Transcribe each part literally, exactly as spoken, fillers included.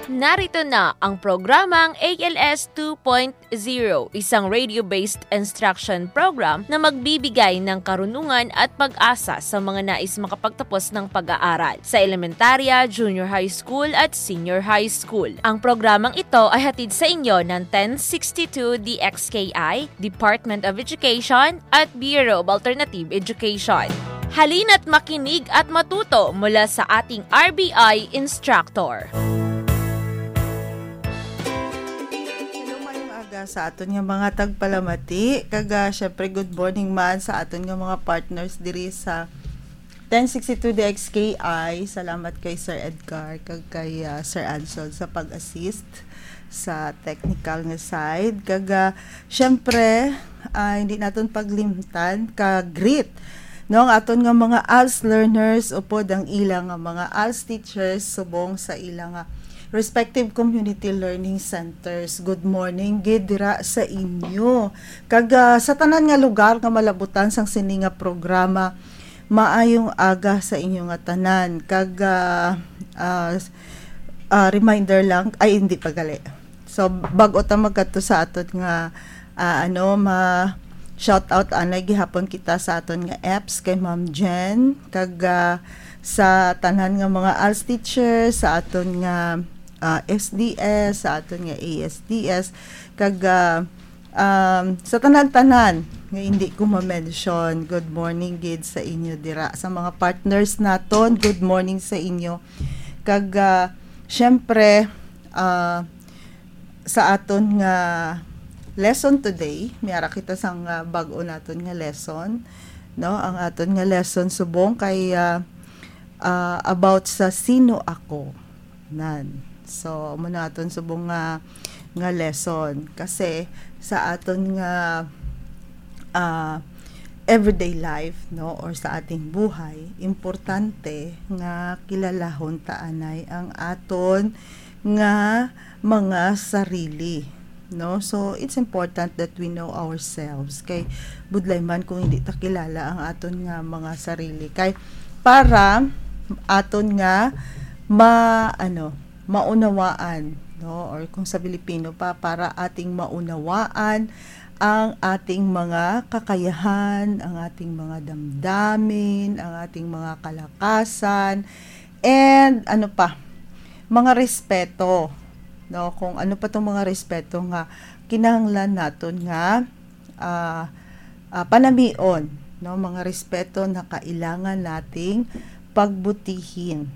Narito na ang programang A L S two point zero, isang radio-based instruction program na magbibigay ng karunungan at pag-asa sa mga nais makapagtapos ng pag-aaral sa elementarya, junior high school at senior high school. Ang programang ito ay hatid sa inyo ng ten sixty-two D X K I, Department of Education at Bureau of Alternative Education. Halina't makinig at matuto mula sa ating R B I instructor. Hello, mayong aga sa aton nga mga tagpalamati. Kag, ah, syempre, good morning man sa aton nga mga partners diri sa ten sixty-two D X K I. Salamat kay Sir Edgar kag kay, ah, Sir Ansel sa pag-assist sa technical nga side. Kag, ah, syempre, ah, hindi naton paglimtan ka greet, no, ang aton nga mga als learners upod ang ila nga mga als teachers subong sa ila nga respective community learning centers. Good morning gid dira sa inyo. Kag, ah, sa tanan nga lugar nga malabutan sang sini nga programa, maayong aga sa inyo nga tanan. Kag, ah, ah, s-, ah, reminder lang, ay, hindi pa gali. So, bago ta magkadto sa aton nga, ah, ano, ma-, shout out, anay gihapon kita sa aton nga apps kay Ma'am Jen, kag, ah, sa tanan nga mga als teacher, sa aton nga, ah, S D S, sa aton nga A S D S, kag, ah, um, sa tanan-tanan nga hindi ko ma-mention, good morning gid sa inyo dira. Sa mga partners naton, good morning sa inyo. Kag, ah, syempre, ah, sa aton nga lesson today, may ara kita sang, ah, bag-o naton nga lesson, no? Ang aton nga lesson subong kay, ah, ah, about sa sino ako. Nan. So, amo na aton subong nga, nga lesson. Kasi sa aton nga, ah, everyday life, no, or sa ating buhay, importante nga kilalahon ta anay ang aton nga mga sarili, no? So, it's important that we know ourselves. Kay budlay man kung hindi ta kilala ang aton nga mga sarili. Kay para aton nga ma-, ano, maunawaan, no? Or kung sa Filipino pa, para ating maunawaan ang ating mga kakayahan, ang ating mga damdamin, ang ating mga kalakasan, and ano pa, mga respeto, no? Kung ano pa tong mga respeto nga kinahanglan naton nga, ah, ah, panamion, no? Mga respeto na kailangan nating pagbutihin.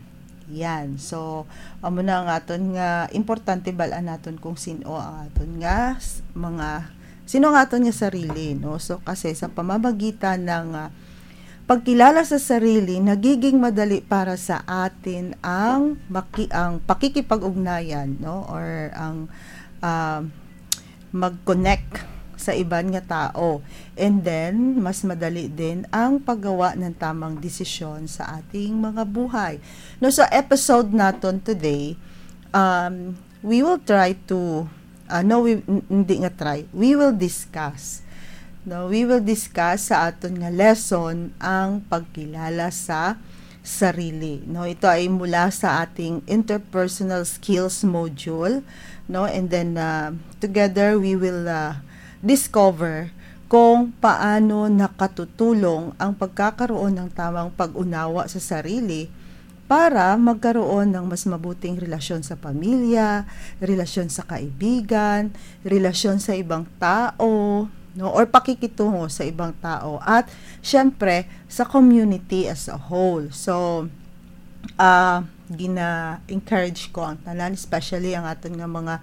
Yan. So, amo na ang aton nga importante bal-an naton kung sino ang aton nga s-, mga, sino ang aton nga sarili, no? So, kasi sa pamamagitan ng, ah, pagkilala sa sarili, nagiging madali para sa atin ang maki-, ang pakikipag-ugnayan, no? Or ang, ah, mag-connect sa iban nga tao. And then, mas madali din ang paggawa ng tamang desisyon sa ating mga buhay. No, sa episode naton today, um, we will try to, ah, no, we, n-, hindi nga try, we will discuss. No, we will discuss sa aton nga lesson ang pagkilala sa sarili, no? Ito ay mula sa ating interpersonal skills module, no? And then, ah, together we will, ah, discover kung paano nakatutulong ang pagkakaroon ng tamang pag-unawa sa sarili para magkaroon ng mas mabuting relasyon sa pamilya, relasyon sa kaibigan, relasyon sa ibang tao, no? Or pakikitungo sa ibang tao. At, syempre, sa community as a whole. So, ah, gina-encourage ko ang tanan, especially ang aton nga mga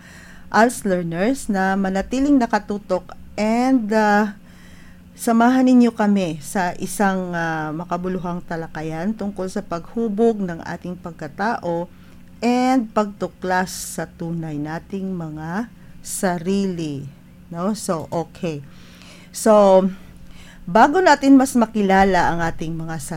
als learners, na manatiling nakatutok and, ah, samahan ninyo kami sa isang, ah, makabuluhang talakayan tungkol sa paghubog ng ating pagkatao and pagtuklas sa tunay nating mga sarili. No? So, okay. So, bago natin mas makilala ang ating mga sarili,